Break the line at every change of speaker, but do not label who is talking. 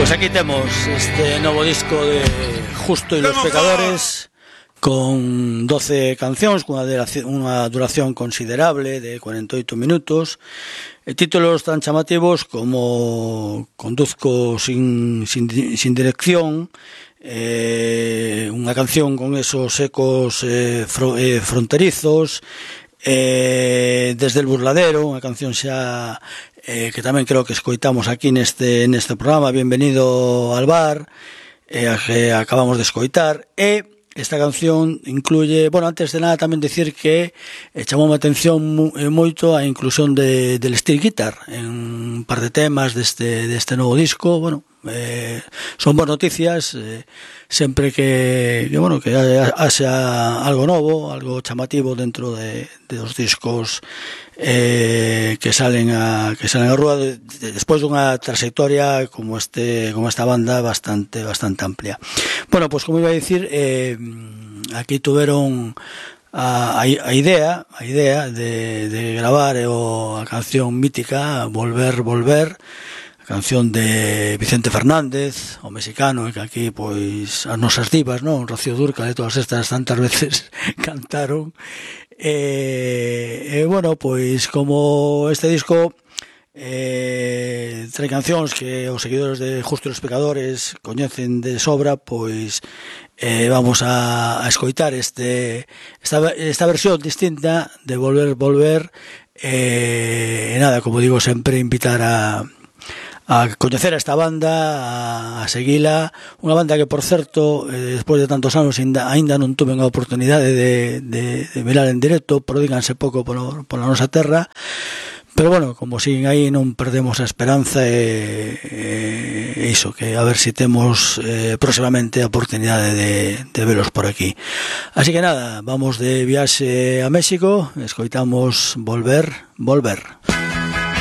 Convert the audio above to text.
Pues aquí temos este novo disco de Justo y los Pecadores, con 12 cancións, cunha duración considerable de 48 minutos, e títulos tan chamativos como Conduzco sin dirección, unha canción con esos ecos fronterizos, Desde el burladero, unha canción xa que tamén creo que escoitamos aquí neste programa, Bienvenido al bar, que acabamos de escoitar. E esta canción incluye, bueno, antes de nada tamén decir que chamou a atención moito a inclusión del steel guitar en un par de temas deste novo disco. Bueno, son boas noticias, sempre que haxa algo novo, algo chamativo dentro de dos discos que salen a rúa despois dunha trayectoria como esta banda bastante amplia. Bueno, pues como iba a dicir, aquí tuveron a idea de gravar a canción mítica Volver, a canción de Vicente Fernández, o mexicano, que aquí pois as nosas divas, non? Rocío Dúrcal e todas estas tantas veces cantaron. Bueno, pois como este disco trae cancións que os seguidores de Justo e los Pecadores coñecen de sobra, pois vamos a escoitar esta versión distinta de Volver, e nada, como digo, sempre invitar a coñecer a esta banda, a seguila, unha banda que, por certo, despois de tantos anos ainda non tuve a oportunidade de mirar en directo, prodíganse pouco pola nosa terra, pero bueno, como siguen aí, non perdemos a esperanza, e iso, que a ver se temos próximamente a oportunidade de velos por aquí. Así que nada, vamos de viaxe a México, escoitamos Volver.